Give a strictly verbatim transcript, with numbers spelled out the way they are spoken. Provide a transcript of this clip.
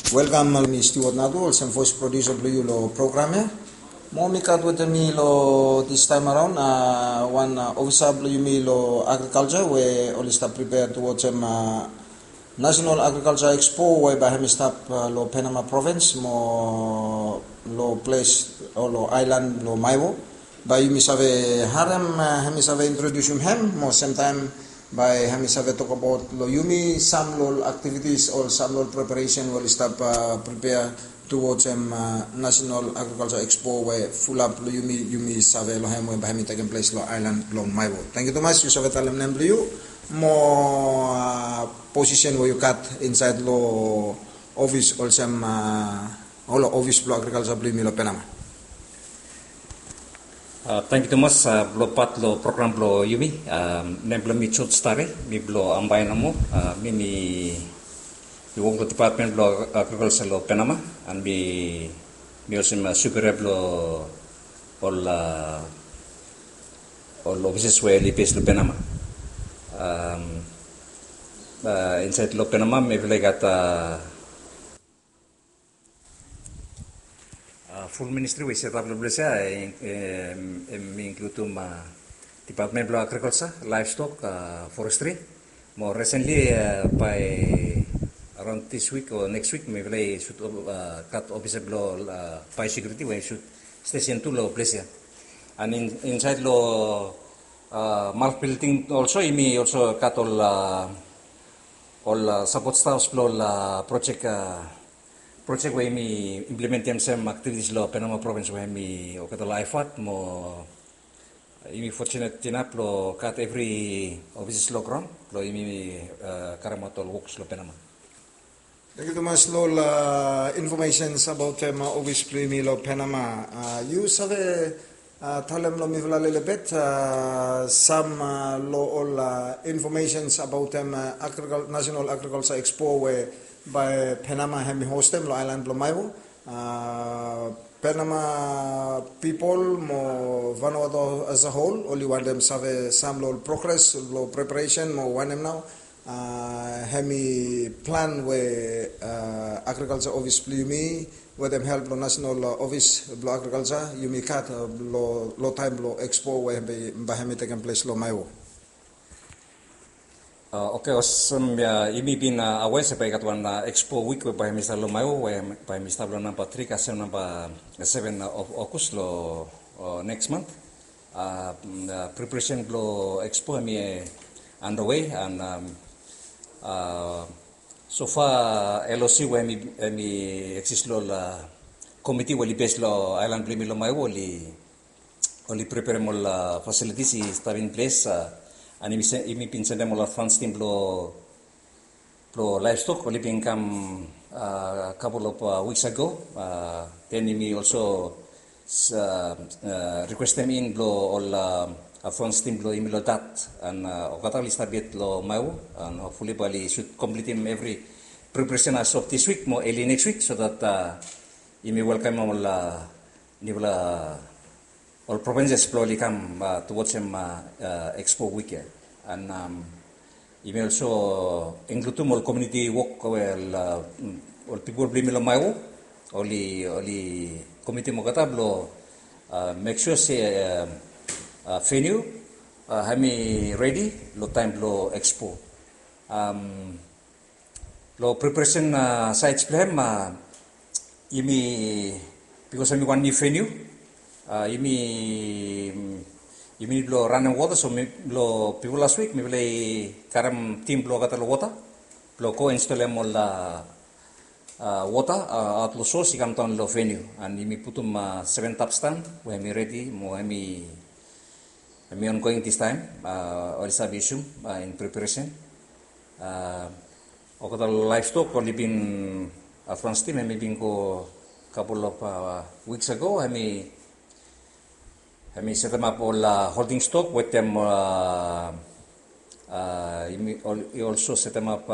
Welkam, mi Stewart Nadu, olsem voes produsa blong yu long program ya. Mo mi gat wetem mi long this time around, a, wan, a, ofisa blong yumi long agrikalsa we oli stap pripea tu wotsim, a, National Agriculture Expo we bae hemi stap, a, long Penama provins mo long ples o long aelan blong Maewo. Bae yumi save harem, a, hemi save introdiusim hem mo semtaem bae hemi save tokbaot long yumi sam long ol aktivitis o sam long ol preparesen we oli stap, a, pripea tu wotsim, a, National Agriculture Expo we fulap long yumi, yumi save long hem we bae hemi tekem ples long aelan blong Maewo. Tangkiu tumas, yu save talem nem blong yu mo, a, posisen we yu gat insaed long ofis olsem, a, ol ofis blong agrikalsa blong yumi long Penama. A, tangkiu tumas, a, blong pat long program blong yumi. A, nem blong mi George Tare, mi blong Ambae nomo. A, mi, mi, mi wok long dipatmen blong agrikalsa long Penama, and mi, mi olsem, a, superia blong ol, a, ol ofises we oli bes long Penama. Am, a, insaed long Penama mifala i gat, a, a, ful ministri we i setap long ples ya, e, em, em, i inkludim, a, dipatmen blong agrikalsa, laevstok, a, forestri. Mo resenli, a, bae araon this week o next week mifala i sud, a, gat ofisa blong, a, baesekiuriti we i sud stesen tu long ples ya. And in, insaed long, a, MALF bilding olso, yumi olso gat ol, a, ol, a, sapot stafs blong ol, a, projek, a, projek we yumi implementim olsem aktivitis long Penama provins we hemi olgeta ol IFAD mo yumi fortunate inaf blong gat evri ofis long graon blong yumi, a, karemaot ol woks long Penama. Tangkiu tumas long ol, a, infomesens abaotem, a, ofis blong yumi long Penama. A, yu save, a, talem long mifala lelebet, a, sam, a, long ol, a, infomesens abaotem, a, agrikal-, National Agriculture Expo we bae Penama hemi hostem long aelan blong Maewo. A, Penama pipol mo Vanuatu as a whole oli wantem save sam long ol progres long preparesen mo wanem nao, a, hemi plan we, a, agrikalsa ofis blong yumi wetem help blong National, a, Ofis blong Agrikalsa yumi gat, a, long, long taem blong Expo we hemi, bae hemi tekem ples long Maewo. A, oke, olsem, a, yumi bin, a, aware se bae i gat wan, a, Expo wik we bae hemi stap long Maewo, we bae hemi stap long namba tri kasem namba seven, a, of August long, a, next month. A, mm, a, preparesen blong Expo hemi, e, underway, and, am, a, so far, a, LOC we hemi, hemi eksis long ol, a, komiti we oli bes long aelan blong yumi long Maewo oli oli preperem ol, a, fasilitis i stap in ples, a, and yumi se-, yumi bin sendem ol advans tim blong, blong laevstok, oli bin kam, a, couple of, a, weeks ago, a, then yumi olso, a, a, rikwestem in blong ol, a, advans tim blong yumi long dat, and, a, olgeta oli stap yet long Maewo, and hopefully bae oli sud komplitim evri preparesen as of this week mo early next week, so that, a, yumi welkamem ol, a, niufala ol provinces blong oli kam, a, tu wotsim, a, a, Expo wik ya. And, am, yumi olso inkludim ol komuniti wok we ol, a, mm, ol pipol blong yumi long Maewo oli, oli komitim olgeta blong, a, mek sua se, a, a, veniu, a, hemi redi long taem blong Expo. Am, Long preparesen, a, saed blong hem, a, yumi, bikos hemi wan niu veniu, a, yumi, yumi nid blong ranem wota, so mi, long bifo las wik mifala i karem tim blong olgeta long wota blong go instolem ol, a, a, wota, a, aot long sos i kamdaon long veniu, and yumi putum, a, seven tap stan we hemi redi mo hemi Hemi ongoing distaem, a, oli save yusum, a, in preparesen. A, olgeta laevstok oli bin, a, advans tim, hemi bin go couple of, a, weeks ago, hemi, hemi setemap ol, a, holding stok wetem, a, a, hemi ol-, i olso setemap,